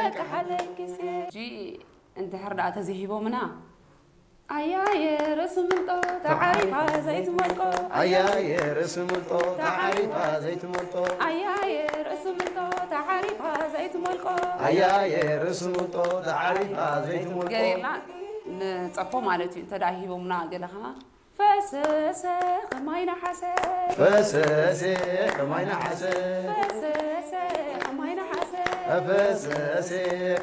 ሕጂ እንድሕር ደኣ ተዘይሂቦምና ኣያየ ርእሲ ምልጦ ተዓሪፋ ዘይትመልቆ ኣያየ ርእሲ ምልጦ ተዓሪፋ ዘይትመልጦ ኣያየ ርእሲ ምልጦ ተዓሪፋ ዘይትመልቆ ኣያየ ርእሲ ምልጦ ተዓሪፋ ዘይትመልቆ ገሬላ ንጸፎ ማለት እዩ። እንተ ደኣ ሂቦምና ገለ ኸዓ ፈሰሰ ኸማይ ነሓሰ ፈሰሰ ኸማይ ነሓሰ ፈሰሰ ኸማይ ነሓሰ ፈሰሰ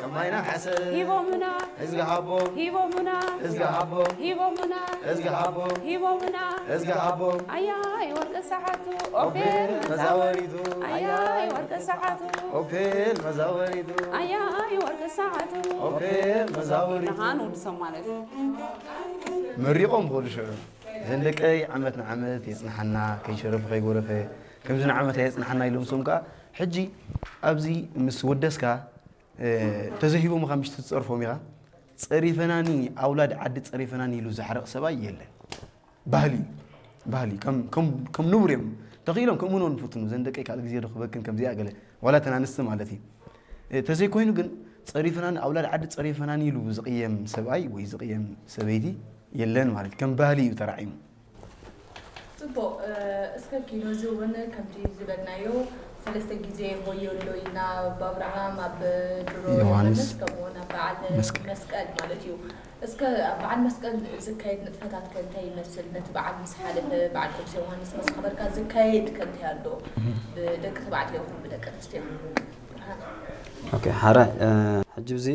ኸማይ ነሓሰ ሂቦምና እዝጊ ሃቦም ሂቦምና እዝጊ ሃቦም ሂቦምና እዝጊ ሃቦም ሂቦምና እዝጊ ሃቦም ኣያይ ወርቂ ሰዓቱ ኦፔል ኦፔል መዛወሪቱ ኣያይ ወርቂ ሰዓቱ ኦፔል መዛወሪቱ ኣያይ ወርቂ ሰዓቱ ኦፔል መዛወሪቱ ንሃን ውድሶም ማለት እዩ። መሪቖም ክኸዱ ሽዑ እዘን ደቀይ ዓመት ንዓመት የጽንሓና ከይሸረፈ ከይጎረፈ ከምዚ ንዓመት የጽንሓና ኢሎም ሶም ከኣ ሕጂ ኣብዚ ምስ ወደስካ ተዘሂቦምኻ ምሽ ትጸርፎም ኢኻ ጸሪፈናኒ ኣውላድ ዓዲ ጸሪፈናኒ ኢሉ ዝሕረቕ ሰብኣይ የለን። ባህሊ እዩ። ባህሊ ከም ከም ከም ንቡር እዮም ተኽኢሎም ከምኡ ንፍትኑ ዘን ደቀይ ካልእ ግዜ ዶ ክበክን ከምዚኣ ገለ ዋላ ተን ኣንስቲ ማለት እዩ። ተዘይኮይኑ ግን ጸሪፈናኒ ኣውላድ ዓዲ ጸሪፈናኒ ኢሉ ዝቕየም ሰብኣይ ወይ ዝቕየም ሰበይቲ የለን ማለት ከም ባህሊ እዩ ተራዒሙ። ጽቡቕ። እስከ ኪኖ እዚ እውን ከምቲ ዝበልናዮ ሰለስተ ግዜ ሆዮ ኣሎ ኢና። ኣብ ኣብርሃም ኣብ ድሮ ዮሃንስ ከምኡውን ኣብ በዓል መስቀል ማለት እዩ። እስከ ኣብ በዓል መስቀል ዝካየድ ንጥፈታት ከ እንታይ ይመስል? ነቲ በዓል ምስ ሓለፈ በዓል ቅዱስ ዮሃንስ ምስ ኣኽበርካ ዝካየድ ከ እንታይ ኣሎ? ብደቂ ተባዕትዮ ይኹን ብደቂ ኣንስትዮ ይኹን ብሓ- ኦኬ ሓራይ ሕጂ ብዚ